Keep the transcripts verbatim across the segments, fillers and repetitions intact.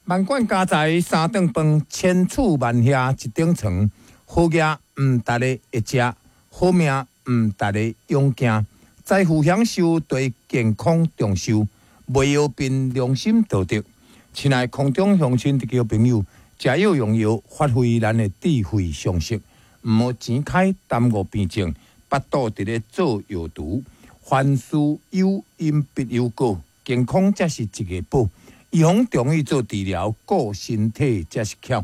萬貫家財三頓飯，千厝萬瓦一頂床。好額毋值咧會食，好命毋值咧勇行。財富享受對健康長壽，袂藥憑良心道德。親愛空中鄉親弟朋友，食藥用藥，發揮咱的智慧常識，毋好錢開耽誤病症，腹肚佇咧做藥毒。凡事有因必有果，健康才是一个寶。預防中醫做治療，顧身體才是巧。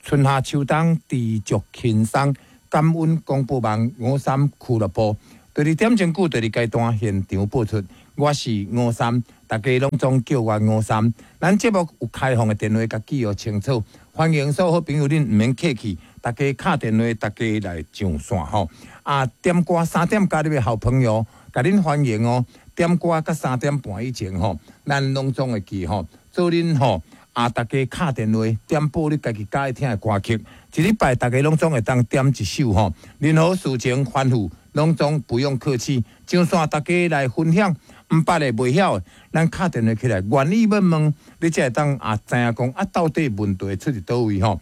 春夏秋冬知足輕鬆，感恩廣播網五三俱樂部。第二點鐘久，第二階段現場播出。我是吳三，大家攏總叫我吳三。咱節目有開放的電話，共記號清楚，歡迎所有好朋友恁毋免客氣，大家敲電話，大家來上線吼。啊，點歌三點加入的好朋友，共恁歡迎哦。點歌佮三點半以前吼，咱攏總會記吼。做恁吼啊，大家敲電話點播你家己佮意聽的歌曲，一禮拜大家攏總會當點一首吼。任何事情吩咐，攏總不用客氣。上線大家來分享，毋捌的、袂曉的，咱敲電話起來，願意欲問，你才會當啊知影講啊，到底問題出佇佗位吼。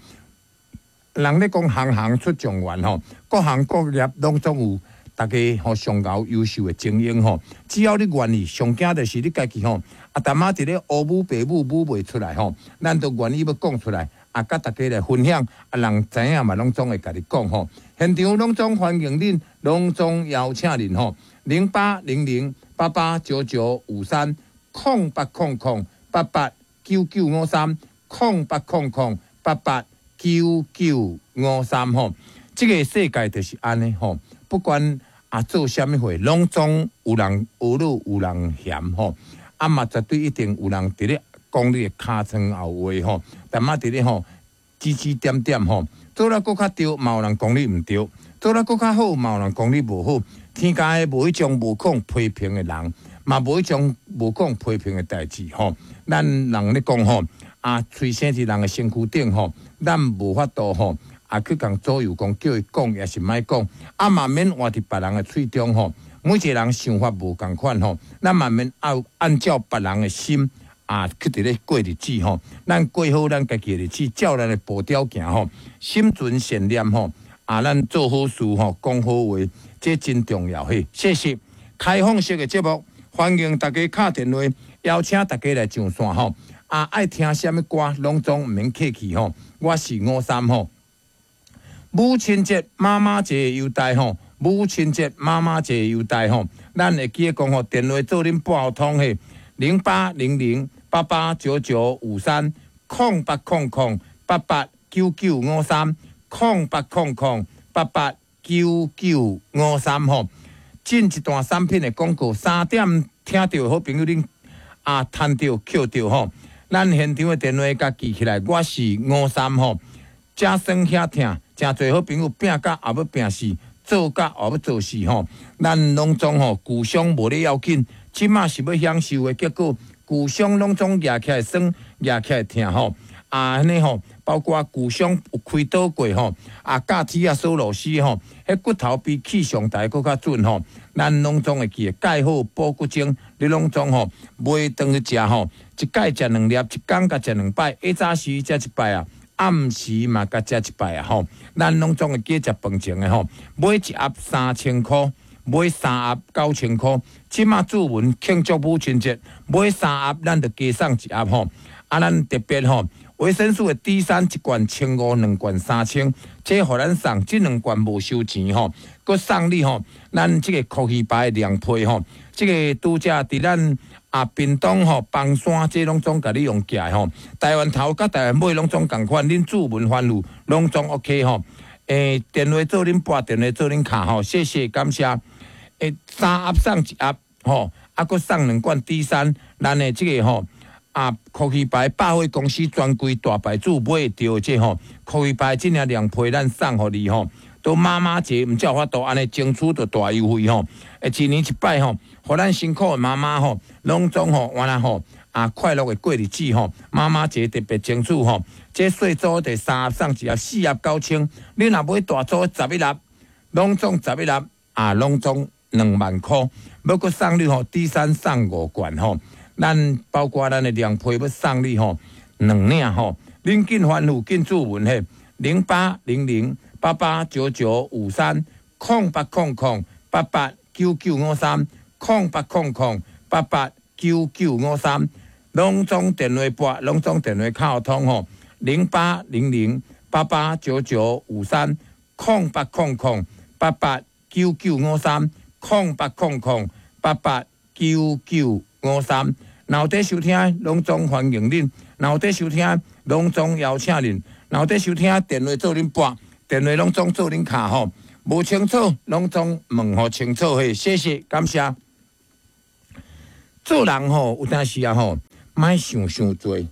人咧講行行出狀元吼，各行各業攏總有大家吼上𠢕優秀的精英吼。只要你願意，上驚就是你家己吼，啊，淡仔佇咧烏母白母母袂出來吼，咱都願意欲講出來，啊，佮大家來分享，啊，人知影嘛，攏總會共你講吼。現場攏總歡迎恁，攏總邀請恁吼，零八零零八八九九五三，空八空空八八九九五三，空八空空八八九九五三吼。這個世界就是按呢吼，不管啊做啥物貨，攏總有人呵咾，有人嫌吼，啊嘛絕對一定有人佇咧講你的尻川後話吼，淡仔佇咧吼指指點點吼，做了閣較對，嘛有人講你毋對；做了閣較好，嘛有人講你無好。天下無彼種無講批評的人，嘛無彼種無講批評的代誌吼。咱人咧講吼，啊，喙生佇人的身軀頂吼，咱無法度吼，啊去共左右講，叫伊講抑是莫講，啊嘛免活佇別人的喙中吼。每一個人想法無仝款吼，咱嘛免按按照別人的心啊去佇咧過日子吼。咱過好咱家己的日子，照咱的步調行吼，心存善念吼，啊，咱做好事吼，講好話，這真重要嘿。謝謝。開放式的節目，歡迎大家敲電話，邀請大家來上線吼。啊，愛聽啥物歌，攏總毋免客氣吼。我是吳三吼。母親節、媽媽節優待吼，母親節、媽媽節優待吼，咱會記得講吼，電話做恁撥通嘿，零八零零八八九九五三，空八空空八八九九五三，空八空空八八九九五三吼。進一段產品的廣告，三點聽著的好朋友恁啊，趁著抾著吼。咱現場的電話共記起來，我是吳三吼，遮酸遐疼。誠濟好朋友拚甲後欲拚死，做甲後欲做死吼。咱攏總吼舊傷無咧要緊，這馬是欲享受的結果，舊傷攏總夯起來酸，夯起來疼吼。啊，按呢吼，包括舊傷有開刀過吼，啊，鉸鐵仔鎖螺絲吼，彼骨頭比氣象台閣較準吼。咱攏總會記得鈣好補骨精，你攏總吼買轉去食吼，一擺食兩粒，一工共食兩擺，下早時食一擺啊。暗時嘛，共食一擺啊吼，咱攏總會記食飯前的吼，買一盒三千箍，買三盒九千箍。這馬主文慶祝母親節，買三盒咱就加送一盒吼。啊，咱特別吼，維生素的 D 三一罐千五，兩罐三千，這予咱送，這兩罐無收錢吼，閣送你吼，咱這個科學牌的涼皮吼，這個拄才佇咱啊，屏東吼，枋山這攏總共你用寄的吼，台灣頭佮台灣尾攏總仝款，恁主文番路攏總 OK 吼。欸，電話做恁撥，電話做恁敲吼，謝謝感謝。欸，三盒送一盒吼，啊，閣送兩罐 D 三，咱的這個吼，啊，科學牌百貨公司專櫃大牌子買會著的這吼，科學牌這領涼皮咱送予你吼。都媽媽節毋才有法度按呢爭取著大優惠吼，欸，一年一擺吼，予咱辛苦的媽媽吼，攏總吼，原來吼啊快樂的過日子吼，媽媽節特別爭取吼，這細組的三盒送一盒，四盒九千，你若買大組十一粒，攏總十一粒啊，攏總兩萬箍，欲閣送你吼，D 三送五罐吼，咱包括咱的涼皮欲送你吼，兩領吼。恁緊吩咐緊注文嘿，零八零零八八九九五三，空八空空八八九九五三，空八空空八八九九五三，攏總電話撥，攏總電話敲通吼，零八零零八八九九五三，空八空空八八九九五三，空八空空八八九九五三。若有佇收聽，攏總歡迎恁；若有佇收聽，攏總邀請恁；若有佇收聽，電話做恁撥，電話攏總做恁敲吼。無清楚，攏總問予清楚嘿，謝謝，感謝。做人吼，有當時啊吼，莫想傷濟。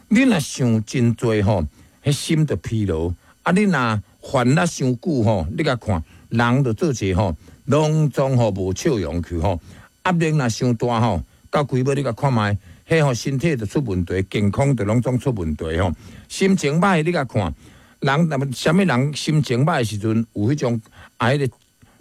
你若想真濟吼，彼心就疲勞。啊，你若煩惱傷久吼，你共看，人就做者吼，攏總吼無笑容去吼。壓力若傷大吼，到規尾你共看覓，彼吼身體就出問題，健康就攏總出問題吼。心情歹，你共看，人若啥物人心情歹的時陣，有彼種啊，彼個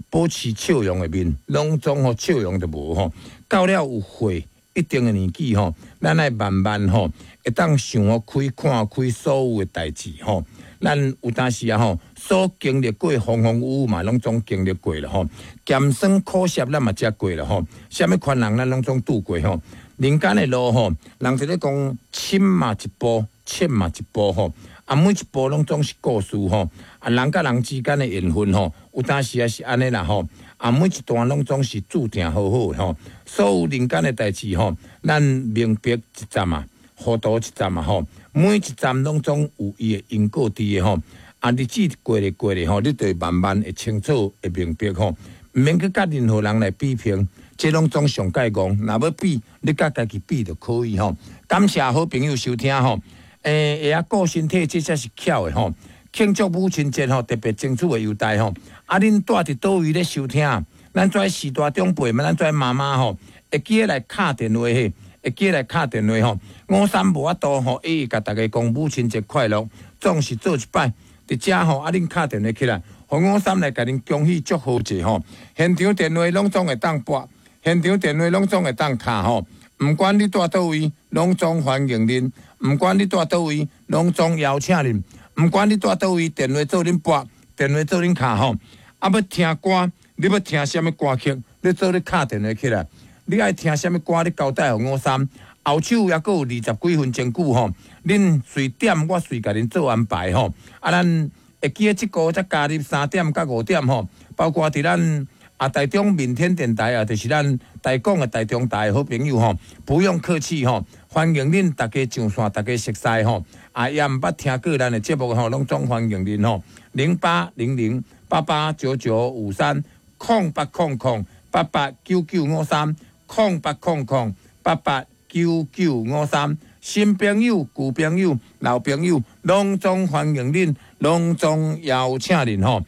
保持笑容的面，攏總吼笑容就無吼。到了有歲一定的年紀吼，咱愛慢慢吼，會當想予開、看開所有的代誌吼。咱有當時啊吼，所經歷過風風雨雨嘛，攏總經歷過了吼。鹹酸苦澀咱嘛食過了吼。啥物困難咱攏總拄過吼。人間的路吼，人就咧講深嘛一步，淺嘛一步吼。啊，每一步攏總是故事吼。啊，人佮人之間的緣分吼，有當時也是按呢啦吼。啊，每一段攏總是注定好好吼。所有人間的代誌吼，咱明白一站啊，糊塗一站啊吼。每一站攏總有伊的因果佇的吼。啊，日子過咧過咧吼，你就會慢慢會清楚、會明白吼。毋免去佮任何人來比拼，這攏總上蓋戇。若欲比，你佮家己比就可以吼。感謝好朋友收聽吼。欸，會曉顧身體，這才是巧的吼。慶祝母親節吼，特別爭取的優待吼。啊，恁住佇佗位咧收聽，咱遮序大長輩嘛，咱遮媽媽吼，會記得來敲電話嘿，會記得來敲電話吼。吳三無法度吼，一直共大家講母親節快樂，總是做一擺。佇遮吼，啊，恁敲電話起來，予吳三來共恁恭喜祝賀者吼。現場電話攏總會當撥，現場電話攏總會當敲吼。毋管你住佗位，攏總歡迎恁；毋管你住佗位，攏總邀請恁；毋管你住佗位，電話做恁撥，電話做恁敲吼。啊，欲聽歌，你欲聽啥物歌曲？你做咧敲電話起來，你愛聽啥物歌？你交代予吳三。後手猶閣有二十幾分鐘久吼，恁隨點我隨共恁做安排吼。啊，咱會記得這個才加入三點到五點吼，包括佇咱啊台中民天電台啊，就是咱台港的台中台的好朋友吼，不用客氣吼，歡迎恁大家上線，大家熟似吼。啊，也毋捌聽過咱的節目吼，攏總歡迎恁吼。零八零零八八九九五三，空八空空八八九九五三，空八空空八八九九五三，新朋友、舊朋友、老朋友，攏總歡迎恁，攏總邀請恁吼。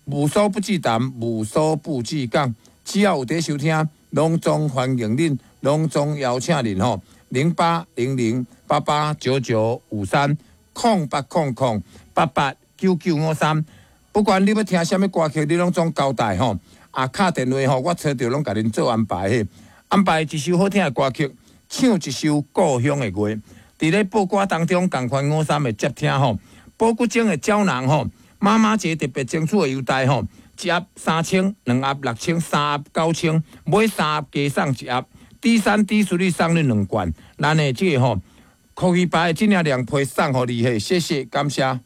無所不忌談，無所不忌講，只要有佇收聽，攏總歡迎恁，攏總邀請恁吼。零八零零八八九九五三，空八空空八八九九五三。不管你欲聽啥物歌曲，你攏總交代吼。啊，敲電話吼，我揣著攏共恁做安排嘿。安排一首好聽的歌曲，唱一首故鄉的月。佇咧報歌當中，仝款吳三會接聽吼。保骨精的膠囊吼，媽媽節特別爭取的優待吼，一盒三千，兩盒六千，三盒九千，買三盒加送一盒。D 三 D 四你送你兩罐，咱的這個吼，可以把這領涼皮送予你嘿，謝謝，感謝。